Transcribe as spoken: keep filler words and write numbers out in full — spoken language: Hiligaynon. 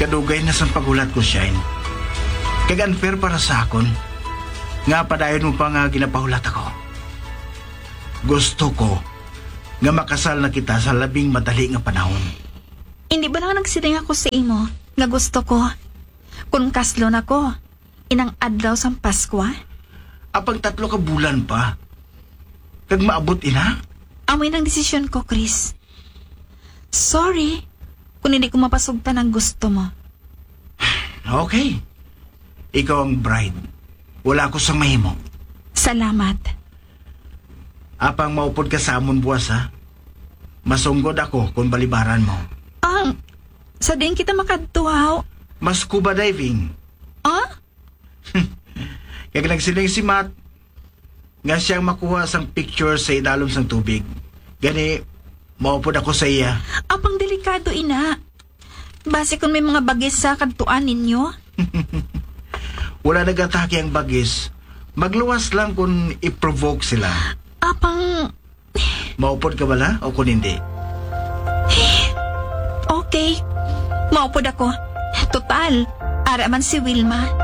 Kadugay na sang paghulat ko, Shine. Kag unfair para sa akon nga padayon mo pa nga ginapahulat ako. Gusto ko nga makasal na kita sa labing madali nga panahon. Hindi ba lang nagsiling ako sa imo nga gusto ko kun kaslo na ko inang adlaw sang Paskwa? Apang tatlo ka bulan pa. Kag maabot ina? Amo nang desisyon ko, Chris. Sorry kung hindi ko mapasugtan ang gusto mo. Okay. Ikaw ang bride. Wala ako sang mahimo. Salamat. Apang maupod ka sa amon buwas, ha? Masunggod ako kung balibaran mo. Ang, sa diin kita makadto, haw? Mas scuba diving. Ah? Kag nagsiling si Matt nga siyang makuha sang picture sa idalom sang tubig. Gani, maupod ako sa iya. Apang delikado ina. Basi kung may mga bagis sa kadtuan ninyo. Wala nagatake ang bagis. Magluwas lang kung i-provoke sila. Apang Maupod ka bala o kung hindi? Okay. Maupod ako. Total, ara man si Wilma.